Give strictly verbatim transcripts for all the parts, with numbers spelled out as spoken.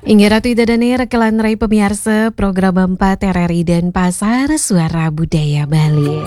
Inggih Ratu Ida Dane, rekelan rai pamiarsa program empat R R I Denpasar, Suara Budaya Bali.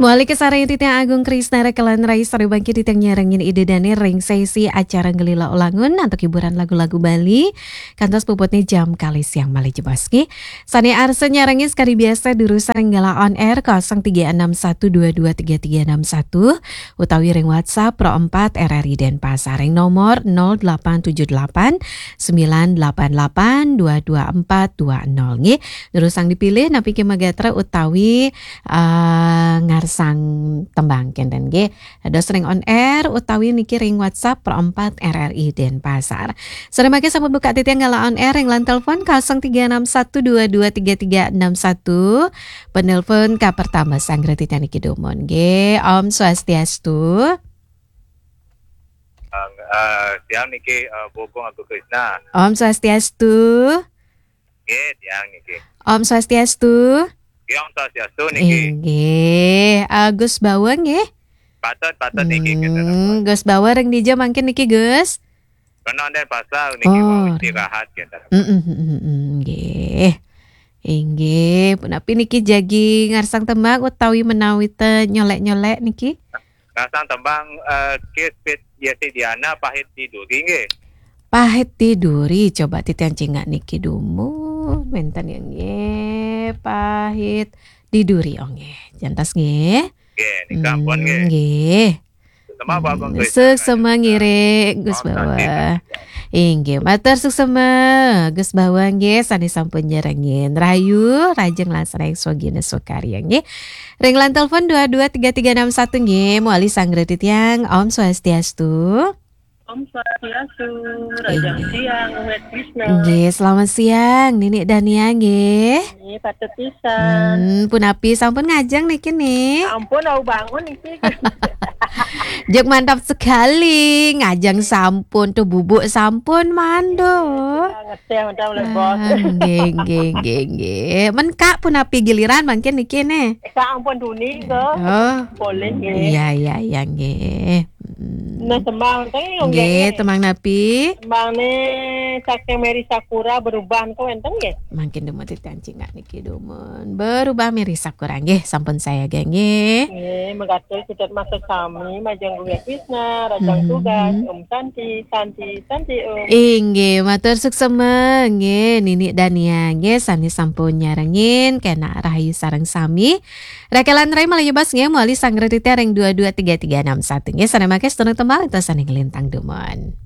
Mawali kasarengin titiang Agung Krisna, rekelan rai sareng bangkin titiang nyarengin Ida Dane ring sesi acara Ngelila Ulangun antuk hiburan lagu-lagu Bali. Kantos puputne jam kalih siang malih jebos nggih. Sane arsa nyarengin sakadi biasa durusang ring galah on air kosong tiga enam satu dua dua tiga tiga enam satu utawi ring WhatsApp Pro empat R R I Denpasar ring nomor nol delapan tujuh delapan sembilan delapan delapan dua dua empat dua nol nggih. Durusang dipilih napi ké magatra utawi eh, ngarsang tembang kenten nggih. Dados ring on air utawi niki ring WhatsApp Pro empat R R I Denpasar. Sore mangke sampun buka titiang galah on air ring line telepon kosong tiga enam satu dua dua tiga tiga enam satu. Penelpon ka pertama sanggra titiang niki dumun nggih. Om Swastiastu. Uh, siang niki uh, Bogong Agus Krisna. Om Swastiastu. Nggih, siang niki. Om Swastiastu. Nggih, Om Swastiastu niki. Inggih, Agus Bawang nggih. Patut, patut niki kita. Hmm, Gus Bawang ring dija mangkin niki, Gus? Kena Denpasar niki Oh. Mau istirahat kita. Mm, mm, mm, mm, mm, nggih. Inggih, punapi niki jagi ngarsang tembang utawi menawi te nyolek-nyolek niki? Ngarsang tembang uh, Kiss Fit Yesi Diana Pahit Tiduri nggih. Pahit Tiduri, coba titiang cingak niki dumun. Wenten ya nggih, Pahit Tiduri, oh nggih. Jantos nggih. Nggih, nika ampun nggih. Nggih. Sama Pak Agung Krisna. Suksema ngiring Gus Om Bawang. Swastiastu. Inggih, matur suksema Gus Bawang nggih sane sampun nyarengin. Rahayu, rahajeng langsung swagina swakarya nggih. Ring line telepon dua dua tiga tiga enam satu nggih, mawali sanggra titiang. Om Swastiastu. Om Swastiastu, rahajeng Inggih. siang, Umet Krisna. Nggih, selamat siang Nini Dania nggih. Ini patut pisan. Hmm, punapi sampun ngajeng niki nih. Ampun, aku bangun niki. Jek mantap sekali, ngajeng sampun tuh bubuk sampun mando. Ngeteh udah mulai bos. Ah, nggih, nggih, nggih, nggih. Men Kak punapi giliran mangkin niki nih. Kak ampun duni ke. Oh, Boleh nggih. iya, iya, iya nggih. Hmm. Nah, tembang tadi Nggih, tembang napi? Tembang nih saking Mary Sakura berubah kok enten nggih. Mangkin dumun titiang cingak niki dumun. Berubah Mary Sakura nggih, sampun saya nggih. Nggih, megatur kita masuk sami majeng Guru Krisna, rahajeng Mhm. tugas, Om Santi, Santi, Santi Om. Inggih, matur suksema nggih Nini Dania nggih sane sampun nyarengin kena rahayu sareng sami. Rekelan rai malih jebos nggih mawali sanggra titiang ring dua dua tiga tiga enam satu nggih sane mangke sedurung tembang ento sane nglintang dumun.